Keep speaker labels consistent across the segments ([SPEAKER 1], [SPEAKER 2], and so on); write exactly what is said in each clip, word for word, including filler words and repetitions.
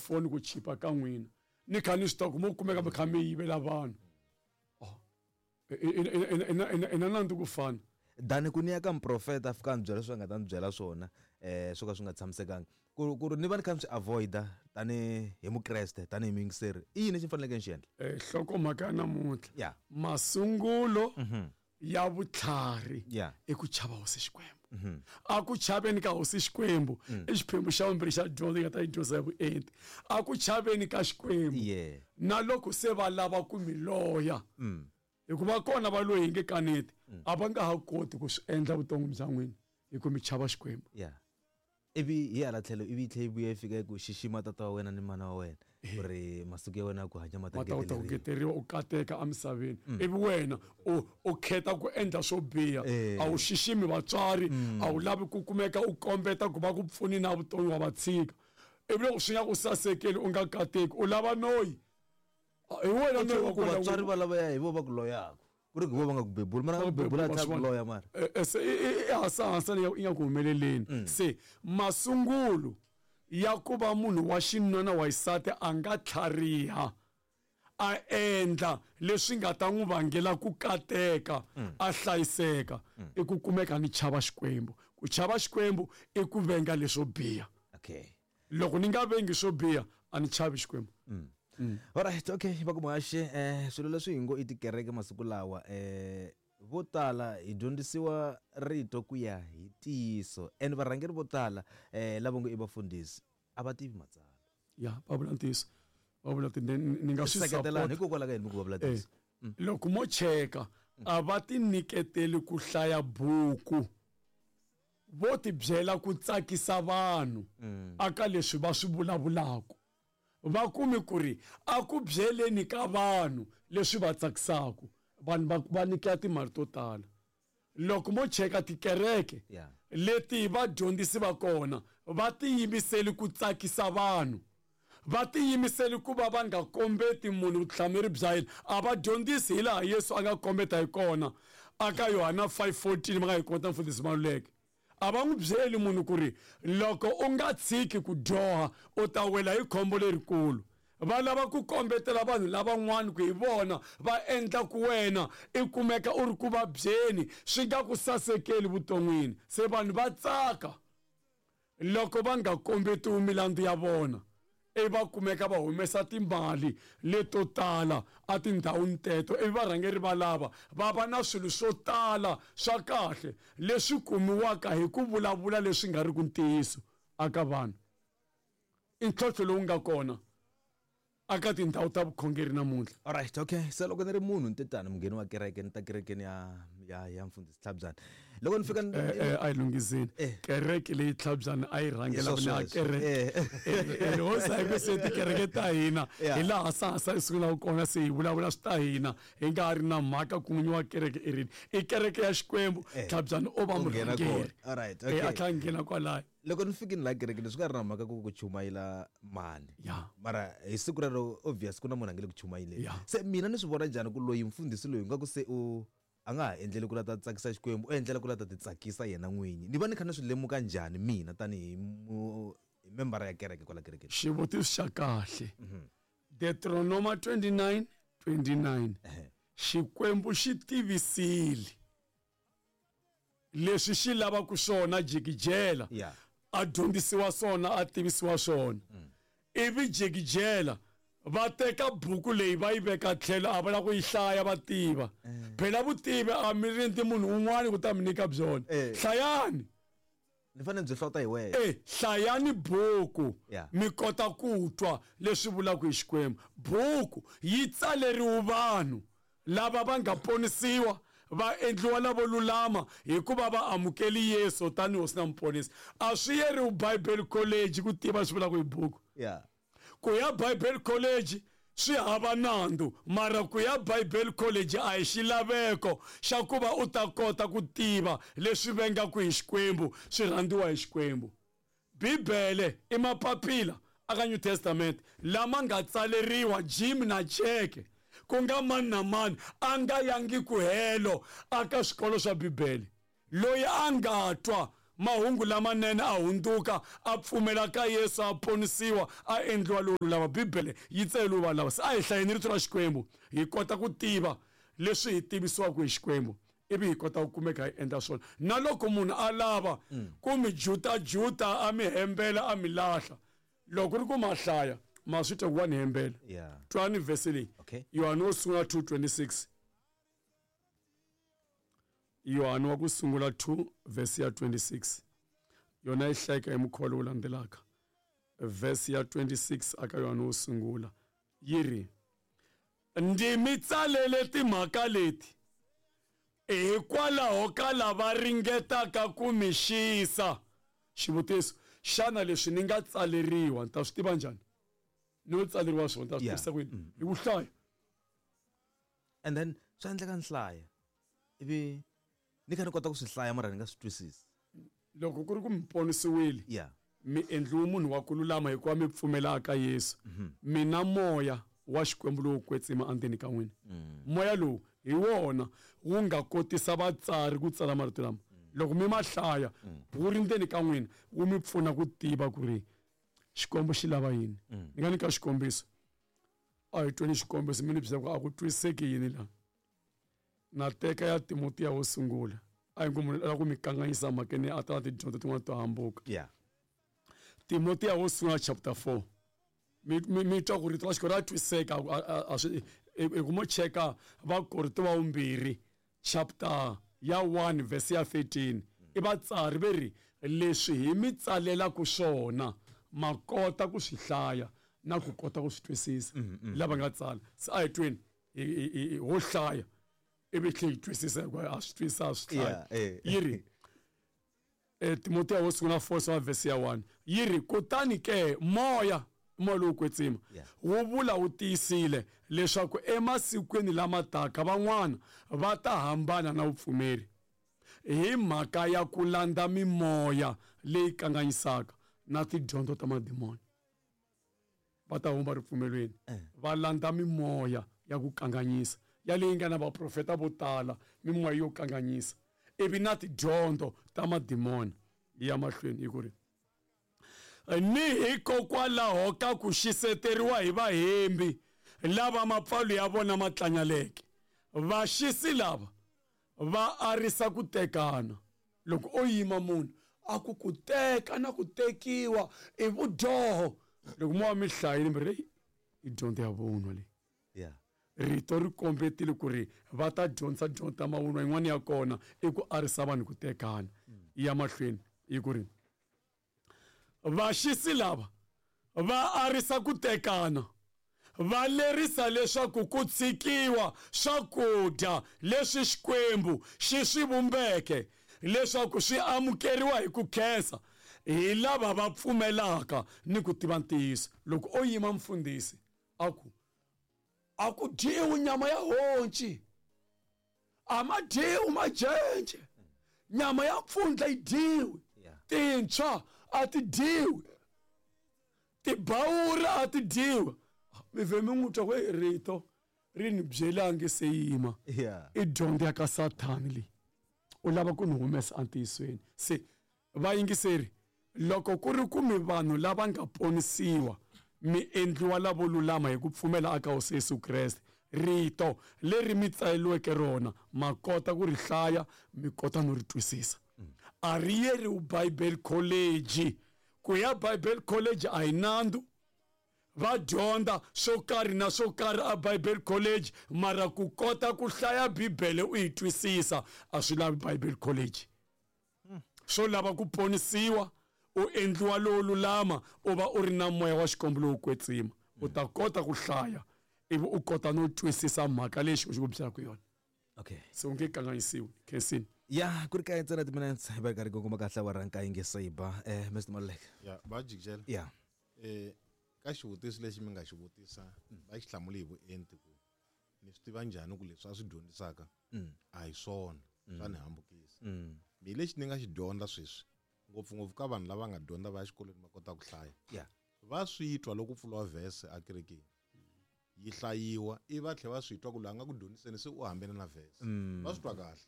[SPEAKER 1] tifoni ku chipa ka n'wina ni kha ni swi tiva ku mo kumeka mi kha mi yivela vanhu ina nandzu ku fana
[SPEAKER 2] dani ku ni ya ka muprofeta a fika a ni byela leswi a nga ta ni byela swona um swo ka swi nga tshamisekanga ku ku ri ni va ni kha ni swi avoida tanihi hi mukreste tanihi muyingiseri i yini lexi ni faneleke ni xi endla
[SPEAKER 1] um hlokomhaka ya namuntlha
[SPEAKER 2] ya
[SPEAKER 1] masungulo ya vutlhari
[SPEAKER 2] Yeah.
[SPEAKER 1] i ku chava hosi Xikwembu a ku chaveni ka hosi Xikwembu i xiphemu xa vumbirhi xa dyondzo yi nga ta yi dyondza ya vuenti a ku chaveni ka Xikwembu
[SPEAKER 2] Yeah.
[SPEAKER 1] na loko se va lava ku mi loya hikuva kona va loyi hi nge kaneti a va nga ha koti ku swi endla vuton'wini bya n'wina hi ku mi chava Xikwembu
[SPEAKER 2] ya ivi hi hala tlhelo ivi yi tlhela yi vuya yi fika ku xixima tata wa wena ni mana wa wena ku ri masiku ya wena ya ku hanya ma ta
[SPEAKER 1] ma ta kota ku
[SPEAKER 2] ngeteleriwa.
[SPEAKER 1] ngeteriwa u kateka emisaveni ivi wena u u khetha ku endla swo biha
[SPEAKER 2] Eh.
[SPEAKER 1] a wu xiximi vatswari a wu lavi ku kumeka u kombeta ku va ku pfuni na vutomi wa va tshika ivi loko swi nga ku sasekeli u nga kateki u lava noyi hi wena noyi wa
[SPEAKER 2] ku
[SPEAKER 1] kona
[SPEAKER 2] vatswari va lavaya hi vo va ku loyaka ku ri ku vo va nga ku bebuli mara nga ku bebula a tlhela ku loya mara
[SPEAKER 1] Eh, eh, se i- i- i hasahasa leyi yi nga ku humeleleni se masungulo ya ku va munhu wa xinuna na wa xisati a nga tlhariha a endla leswi nga ta n'wi vangela ku kateka a hlayiseka i ku kumeka ni chava Xikwembu ku chava Xikwembu i ku venga leswo biha
[SPEAKER 2] okay
[SPEAKER 1] loko ni nga vengi swo biha a ni chavi Xikwembu
[SPEAKER 2] alright okay va ku muhaxi eh swilo leswi hi ngo i tikereke masiku lawa eh vo tala hi dyondzisiwa rito ku ya hi ntiyiso and varhangeri vo tala eh lava ngo i vafundhisi a va tivi matsalwa
[SPEAKER 1] ya va vula ntiyiso va vula ti ni ni nga swi
[SPEAKER 2] seketelani
[SPEAKER 1] support
[SPEAKER 2] hikokwalaho ka yini mi ku va vula
[SPEAKER 1] Eh,
[SPEAKER 2] ntiyiso
[SPEAKER 1] loko mo cheka a va ti nyiketeli ku hlaya buku vo ti byela ku tsakisa vanhu aka leswi va swi vulavulaka va kumi ku ri a ku byeleni ka vanhu leswi va tsakisaka vanhu va va nyikela timali to tala loko mo cheka tikereke
[SPEAKER 2] Yeah.
[SPEAKER 1] leti vadyondzisi va kona va tiyimiseli ku tsakisa vanhu va tiyimiseli ku va va nga kombeti munhu vutihlamuleri bya yena a va dyondzisi hi laha Yesu a nga kombeta hi kona aka Yohana five fourteen va nga hi kota mfundhisi Maluleke a va n'wi byeli munhu ku ri loko u nga tshiki ku dyoha u ta wela hi khombo lerikulu va lava ku kombetela vanhu lavan'wana ku hi vona va endla ku wena i kumeka u ri ku vabyeni swi nga ku sasekeli vuton'wini se vanhu va tsaka loko va nga kombetiwi milandzu ya vona ivi va kumeka va humesa timali leto tala etindhawini teto ivi varhangeri va lava va va na swilo swo tala swa kahle leswi kumiwaka hi ku vulavula leswi nga ri ku ntiyiso aka vanhu i ntlhontlho lowu nga kona aka tindhawu ta vukhongeri namuntlha
[SPEAKER 2] alright okay se loko ni ri munhu ni te tani mungheni wa kereke ni ta kerekeni ya ya ya mfundhisi Tlhabyana loko ni fika ni-
[SPEAKER 1] Eh, eh, a yi lunghiseni
[SPEAKER 2] Eh.
[SPEAKER 1] kereke leyi Tlhabyana a yi rhangela
[SPEAKER 2] Hi
[SPEAKER 1] ni a
[SPEAKER 2] sweswo.
[SPEAKER 1] kereke
[SPEAKER 2] Eh.
[SPEAKER 1] Eh, eh, hosi a yi ku se tikereke ta hina
[SPEAKER 2] Yeah.
[SPEAKER 1] hi laha sahasa yi sungulaka kona se hi vulavula swi ta hina hi nga ha ri na mhaka ku n'winyi wa kereke i rini i kereke ya Xikwembu
[SPEAKER 2] Eh.
[SPEAKER 1] Tlhabyana o va
[SPEAKER 2] U nghena
[SPEAKER 1] murhangeri
[SPEAKER 2] kona. Alright,
[SPEAKER 1] Eh,
[SPEAKER 2] okay.
[SPEAKER 1] a tlhela a nghena kwalayo
[SPEAKER 2] loko ni fikini laha kerekeni swi nga ri na mhaka ku ku chumayela mani
[SPEAKER 1] Yeah.
[SPEAKER 2] mara hi siku rero obvious ku na munhu a nge le ku chumayeleni
[SPEAKER 1] Yeah.
[SPEAKER 2] se mina ni swi vona njhani ku loyi mfundhisi loyi nga ku se u a nga ha endleli ku la ta tsakisa Xikwembu u endlela ku la ta ti tsakisa yena n'winyi ni va ni kha ni swi lemuka njhani mina tanihi mu- hi membara ya kereke kwala kerekeni
[SPEAKER 1] xivutiso xa kahle Deuteronoma twenty-nine twenty-nine
[SPEAKER 2] Ehe.
[SPEAKER 1] Xikwembu xi tivisile leswi xi lavaka swona jikijela
[SPEAKER 2] Yeah.
[SPEAKER 1] a dyondzisiwa swona a tivisiwa swona ivi jikijela va teka buku leyi va yi veka tlhelo a va lava ku yi hlaya va tiva phela vutivi a mi rindzi munhu un'wana ku ta mi nyika byona
[SPEAKER 2] Eh.
[SPEAKER 1] hlayani
[SPEAKER 2] ni fanele byi hlota hi wena
[SPEAKER 1] e hlayani buku
[SPEAKER 2] Yeah.
[SPEAKER 1] mi kota ku twa leswi vulaka hi Xikwembu buku yi tsaleriwe vanhu lava va nga ponisiwa va endliwa lavo lulama hikuva va amukeli Yesu tanihi hosi na muponisi a swi yeriwi Bible College ku tiva swi vulaka hi buku
[SPEAKER 2] yeah
[SPEAKER 1] ku ya Bible College swi hava nandzu mara ku ya Bible College a hi xilaveko xa ku va u ta kota ku tiva leswi vengaka hi Xikwembu swi rhandziwa hi Xikwembu Bibele i mapapila aka New Testament lama nga tsaleriwa Jim na Jack ku nga mani na mani a nga yangi ku helo aka swikolo swa Bibele loyi a nga twa mahungu lamanene a hundzuka a pfumela ka Yesu a ponisiwa a endliwa lowo lulama. Bibele yi tsele vanhu lava. Se a hi hlayeni rito ra Xikwembu hi kota ku tiva leswi hi tivisiwaka hi Xikwembu, ivi hi kota ku kumeka hi endla swona. Na loko munhu a lava ku mi jutajuta a mi hembela a mi lahla, loko ri ku ma hlaya ma swi twa ku wa ni hembela.
[SPEAKER 2] Yeah.
[SPEAKER 1] Twani vhesi leyi.
[SPEAKER 2] Okay.
[SPEAKER 1] Yohane wo sungula two twenty-six. Yohane wa ku sungula two verse ya twenty-six. Yona yi hlayeka hi mukhuva lowu landzelaka. Verse ya twenty-six aka Yohane wo sungula yi ri, ndzi mi tsalele timhaka leti hikwalaho ka lava ringetaka ku mi xisa. Xivutiso, xana leswi ni nga tsaleriwa ni ta swi tiva njhani? Ni yo tsaleriwa swona ni ta swi
[SPEAKER 2] Yeah.
[SPEAKER 1] tivisa ku yini? Hi ku hlaya.
[SPEAKER 2] And then swi endleka ni hlaya ivi ni kha ni kota ku swi hlaya mara ni nga swi twisisi.
[SPEAKER 1] Loko ku ri ku mi ponisiwile,
[SPEAKER 2] Yeah.
[SPEAKER 1] mi endliwe munhu wa ku lulama hikuva mi pfumela ka Yesu, mina moya wa Xikwembu lowu kwetsima endzeni ka n'wina. Moya lowu hi wona wu nga kotisa vatsari ku tsala marito lama. Loko mi ma hlaya wu ri ndzeni ka n'wina, wu mi pfuna ku tiva ku ri Xikwembu xi lava yini. Ni nga nyika xikombiso. A hi tweni xikombiso mi ni byela ku a ku twisiseki yini laha. Na teka ya Timotiya wo sungula. A hi ngo munhu u lava ku mi kanganyisa mhakeni a ta na tidyondzo tin'wana to hambuka.
[SPEAKER 2] Yeah.
[SPEAKER 1] Timotiya wo sungula chapter four. Mi, mi, mi twa ku rito ra Xikwembu ra twisiseka, a, a, a swi, i, i ku mo cheka Vakorinto va vumbirhi chapter ya one verse ya thirteen. I vatsari ve ri leswi hi mi tsalelaka swona ma kota ku swi hlaya na ku kota ku swi twisisa. Lava nga tsala. Se a hi tweni hi, hi, hi, ho hlaya ivi tlhe hi twisisa hikuva a swi twisisa, a swi hlaya.
[SPEAKER 2] Yeah, eh.
[SPEAKER 1] Yi ri, eh, Timotiya wo sungula four wa verse ya one yi ri, kutani ke moya, moya lowu kwetsima
[SPEAKER 2] Yeah.
[SPEAKER 1] wu vula wu tiyisile leswaku emasikwini lama taka van'wana va ta hambana na vupfumeri hi mhaka ya ku landza mimoya leyi kanganyisaka na tidyondzo ta madimoni. Va ta huma ripfumelweni va landza mimoya ya ku kanganyisa ya leyi nga na vaprofeta vo tala, mimoya yo kanganyisa ivi na tidyondzo ta madimoni. Ya mahlweni hi ku ri, ni hikokwalaho ka ku xiseteriwa hi vahembi lava mapfalo ya vona ma tlanyaleke. Vaxisi lava va arisa ku tekana. Loko o yima munhu a ku ku teka na ku tekiwa i vudyoho, loko mo va mi hlayile mi ri, i dyondzo ya vunwa leyi.
[SPEAKER 2] Yeah.
[SPEAKER 1] Rito ri kombetile ku ri va ta dyondzisa dyondzo ta mavunwa, yin'wana ya kona i ku arisa vanhu ku tekana. Ya mahlweni hi ku ri, vaxisi lava va arisa ku tekana, va lerisa leswaku ku tshikiwa swakudya leswi Xikwembu xi swi vumbeke leswaku swi amukeriwa hi ku khensa hi lava va pfumelaka ni ku tiva ntiyiso. Loko o yima mfundhisi a ku a ku dyiwi nyama ya honci, a ma dyiwi majenje, nyama ya mpfundla yi dyiwi,
[SPEAKER 2] Yeah.
[SPEAKER 1] tintshwa a ti dyiwi, tibawura a ti dyiwi. Mi vhe mi n'wi twa ku, hey, rito ri ni byelangi se yima.
[SPEAKER 2] Yeah.
[SPEAKER 1] I dyondzo ya ka Sathani leyi. U lava ku ni humesa entiyisweni. Se vayingiseri, loko ku ri ku mi vanhu lava nga ponisiwa, mi endliwa lavo lulama hi ku pfumela aka Hosi Yesu Kreste, rito leri mi tsaleriweke rona ma kota ku ri hlaya, mi kota no ri twisisa. A ri yeriwi Bible College. Ku ya Bible College a hi nandzu. Va dyondza swo karhi na swo karhi a Bible College, mara ku kota ku hlaya Bibele u yi twisisa a swi lavi Bible College. Swo lava ku ponisiwa, u endliwa lowo lulama, u va u ri na moya wa Xikwembu lowu kwetsima, u ta kota ku hlaya ivi u kota no twisisa mhaka leyi Xikwembu xi ku byelaka yona.
[SPEAKER 2] Okay.
[SPEAKER 1] Se u nge kanganyisiwi. Khensini.
[SPEAKER 2] Ya, ku ri kaye ntsena timinetse hi va karhi kongoma kahle wa ranka yi nge se ba. Eh, Mister Maluleke.
[SPEAKER 3] Ya, va jikijela.
[SPEAKER 2] Ya.
[SPEAKER 3] Eh, ka xivutiso lexi mi nga xi vutisa, va xi hlamule hi vuenti ku ni swi tiva njhani ku leswi a swi dyondzisaka a hi swona, swa ni hambukisa. Mi lexi ni nga xi dyondza sweswi, ngopfungopfu ka vanhu lava nga dyondza va ya xikolweni va kota ku hlaya.
[SPEAKER 2] Yeah.
[SPEAKER 3] Va swi twa loko ku pfuriwa verse ekerekeni, yi hlayiwa, ivi va tlhela va swi twa ku loyi a nga ku dyondziseni se u hambene na verse. Va swi twa kahle.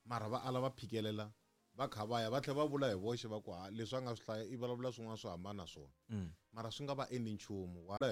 [SPEAKER 3] Mara va ala va phikelela Va kha va ya va tlhela va vula hi voxe va ku ha leswi a nga swi hlaya i vulavula swin'wana swo hambana na swona.
[SPEAKER 2] Mm.
[SPEAKER 3] Mara swi nga va endli nchumu. Wa